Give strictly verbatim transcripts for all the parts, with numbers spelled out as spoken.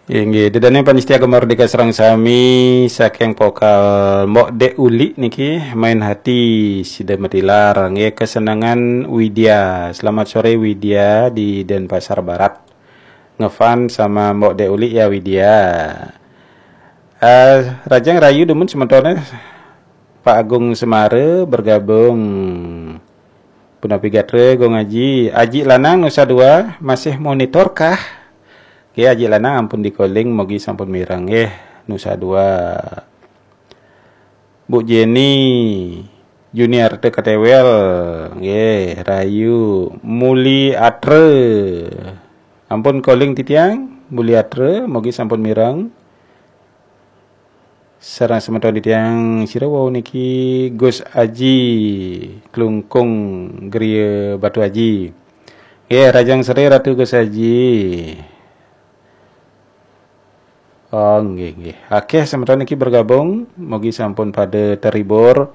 Inggih, ida dané pamiarsa Gema Merdeka sareng sami, saking vokal Mbok Dek Uli niki, Main Hati sida matilar, nggih, Kesenangan Widya. Selamat sore Widya di Denpasar Barat. Ngefan sama Mbok Dek Uli ya Widya. Eh, Rajang Rayu dumun sementone Pak Agung Semara bergabung. Punapi gatra Gung Aji, Aji Lanang Nusa Dua masih monitor kah? Oke, Aji Lanang ampun di-calling, mogi sampun mireng nggih, Nusa Dua. Bu Jenny, Junior T K T W L, nggih, Rayu, Muli Atre. Ampun calling titiang, Muli Atre, mogi sampun mireng. Sareng semeton titiang sira wau niki Gus Aji, Klungkung, Griya Batu Aji. Nggih, Rajang Sri Ratu Gus Aji. Oh, nggih, nggih. Akeh semeton niki bergabung, mugi sampun pada terhibur.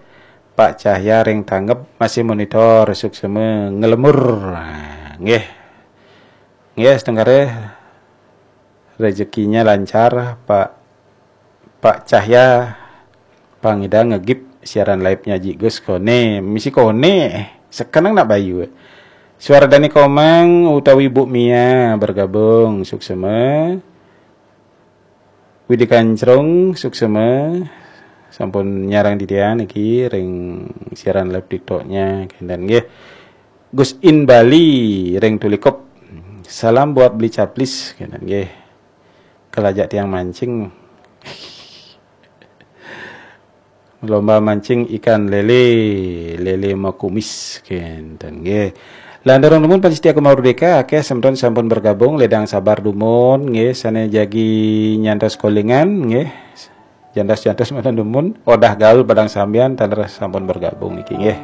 Pak Cahya ring tanggep masih monitor, suksema ngelemur. Nggih. Nggih, setengkare rezekinya lancar, Pak Pak Cahya pangida ngegip siaran live-nya Ji Gus kone, misi kone, sekenang nak bayu. Suara Dani Komang utawi Bu Mia bergabung, suksema. Widi Kancrung, suksema. Sampun nyarang titiang niki ring siaran live TikTok-nya, kenten nggih. Gus In Bali ring Tulikup. Salam buat beli caplis, kenten nggih. Kelajak tiang mancing. Lomba mancing ikan lele, lele makumis, kenten nggih. Lanturung dumun pamiarsa Gema Merdeka, akeh semeton sampun bergabung, ledang sabar dumun nggih, sane jagi nyantos calling-an nggih. Jantos-jantos mawon dumun, Odah Gaul Padang Sambian taler sampun bergabung niki nggih.